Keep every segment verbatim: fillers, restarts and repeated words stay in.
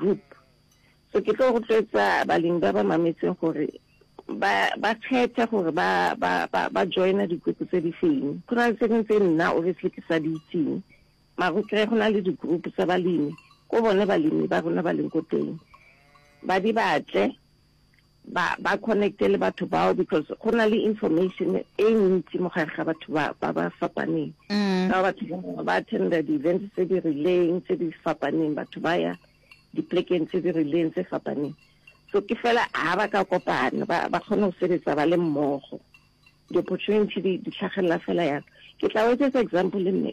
di-group. So ke tlo rotloetsa balemi ba ba mametseng gore ba ba kgethe gore ba ba ba ba joina di-group tse di feng. Go na le tse dingwe tse nna obviously ke sa di itseng, mara o kry-e go na le di-group tsa balemi ko bone balemi ba rona ba leng ko teng, ba di batle, ba ba connecte le batho bao, because go na le information e ntsi mo gare ga batho ba ba ba fapaneng. Mm. Ka batho ba ba attenda di-events tse di rileng tse di fapaneng, batho ba ya diplekeng tse di rileng tse fapaneng. So ke fela ha ba ka kopana, ba ba kgone go sebetsa ba le mmogo, di-opportunity di di tlhagelela fela yalo. Ke tla o etsetsa example, mme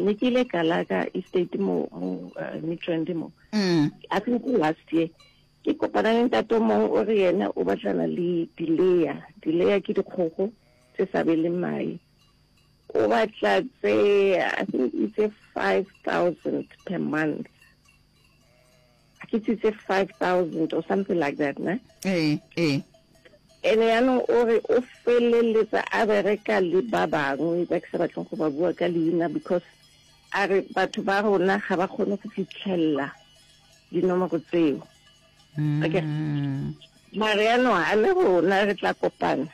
ne ke ile Kalaka Estate mo mo uh, Midrand mo, Mm. I think last year, ke kopana le ntate o mongwe, o re yena o batlana le di-layer. Di-layer ke dikgogo tse sa beleng mae. O batla tse, I think itse five thousand per month, a ke tse five thousand or something like that, ne? Ee ee Ene yaanong o re o feleletsa a bereka le ba bangwe ba ke sa batleng go ba bua ka leina, because a re batho ba rona ga ba kgone go fitlhelela dinomoro tseo. Okay. Mm. Mare yaanong ga le rona re tla kopana,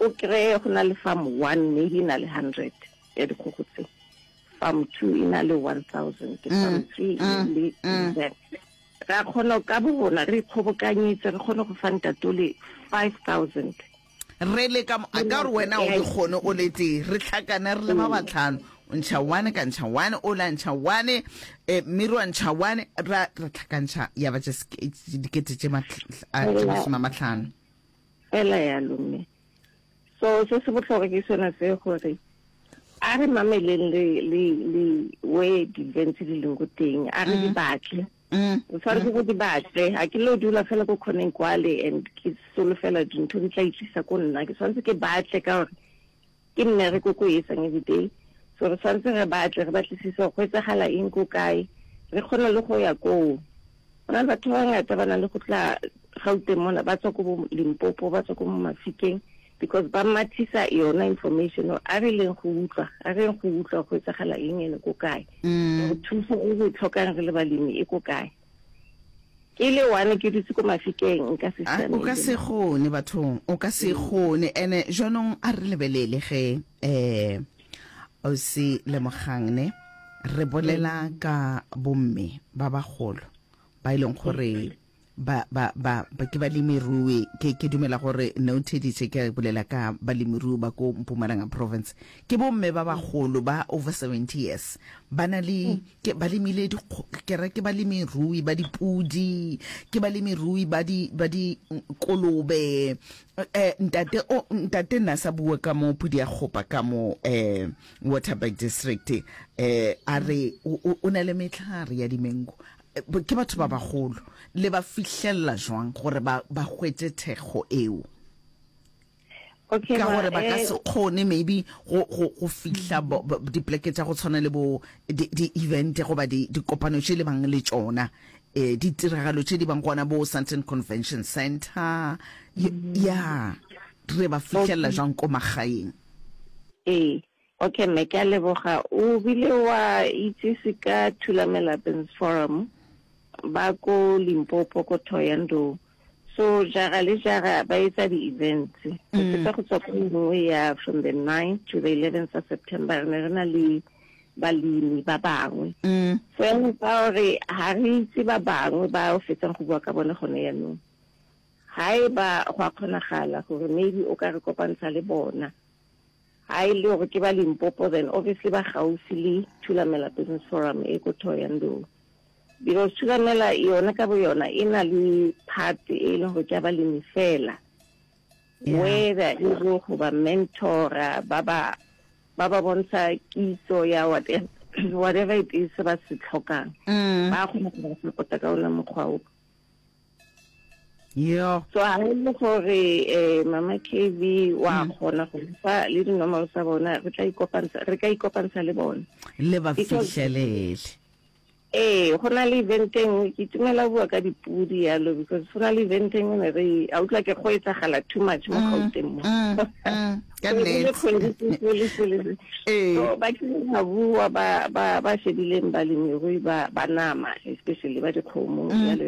o kry-e go na le farm one maybe e na le hundred ya dikgogo tse, farm two e na le one thousand, farm three e na le that. Ra kgona ka bo rona re ikgobokanyetse, re kgone go fa ntatole five thousand. Re le ka mo- a ka gore wena o di kgone o le tee, re tlhakane re le ba batlhano, o ntšha one, ka ntšha one, o la ntšha one, um mmiri wa ntšha one, ra ra tlhakantšha ya ba tše seke- dikete tše matl- a, tše masome a matlhano. Fela yalo, mme so se se botlhokwa ke sone se gore a re mameleng le le le we di-events di leng ko teng, a re di batle. Mm. O tshwanetse go di batle. Ga ke lo dula fela ko kgoneng kwale and ke solofela dintho di tla itlisa ko nna. Ke tshwanetse ke batle ka gore ke mmereko ko e etsang everyday. So re tshwanetse re batle, re batlisise go etsagala eng ko kae, re kgone le go ya koo. Go na le batho ba bangata ba nang le go tla Gauteng mona, ba tswa ko bo Limpopo, ba tswa ko mo Mafikeng, because ba mathisa yona information. A re leng go utlwa, a re leng go utlwa go etsagala eng ene ko kae, Mm. gore thuso e re e tlhokang re le balemi e ko kae. Ke le one ke dutse ko Mafikeng, nka se A, o ka se kgone bathong, o ka se kgone. Ene jaanong a re lebelele ge um o se lemogang ne re bolela ka bomme ba bagolo ba e leng gore ba ba ba ba ke balemirui. ke ke dumela gore ne o theditše ke bolela ka balemirui ba ko Mpumalanga province. Ke bomme ba bagolo ba over seventy years, ba na le ke ba lemile dikgo- ke re ke balemirui ba dipudi, ke balemirui ba di ba di kolobe. eh ntate o ntate nna sa bua ka mo pudi ya kgopa ka mo eh Waterberg district, eh a re o o- o na le metlhare ya dimengo. Eh, ke batho ba bagolo, le ba fihlelela jwang gore ba ba hwetše thekgo eo? Okay. Ka Ma, gore ba ka eh, se kgone maybe go go go fihla bo- bo- dipleke tša go tshwana le bo di-event goba di- dikopano tše le bang le tšona, um ditiragalo tše di bang gona bo Sandton Convention Center. Ya, re ba fihlelela jwang ko magaeng? Ee, okay mme, ke a leboga. O bile wa itsise ka Thulamela Business Forum ba ko Limpopo, ko Thohoyandou. So jara le jara ba etsa di-events. Re fetsa go tswa ko nngwe ya from the ninth to the eleventh of September, re ne re na le balemi ba bangwe. Mm. So yaanong ka gore ga re itse ba bangwe ba o fetsang go bua ka bone gone yaanong, ga e ba go a kgonagala gore maybe o ka re kopantsha le bona. Ga e le gore ke ba Limpopo, then obviously ba gaufi le Thulamela Business Forum e ko Thohoyandou, because Thulamela yona ka bo yona e na le part e leng gore ke ya balemi fela, Yeah. where they're able go ba mentora, ba ba ba ba bontsha kitso ya whatever, whatever it is se ba se tlhokang. Mm. Ba kgona go ba support-a ka ona mokgwa o. Yo. So ha e le gore eh mama K V wa kgona go fa le dinomoro tsa bona, re tla ikopantsha, re ka ikopantsha le bona. Le ba Because- fihlelele. Ee, go na le event e nngwe, ke itumela bua ka dipudi yalo, because go na le event e nngwe ne re a utlwa ke go etsagala too much mo Gauteng mo. Mm, mm, ka Kgwedi le nnete. kgwedi, se le se le se. Ee. So ba kile ba bua ba ba ba shebileng balemirui ba ba nama, especially ba dikgomo, jalo.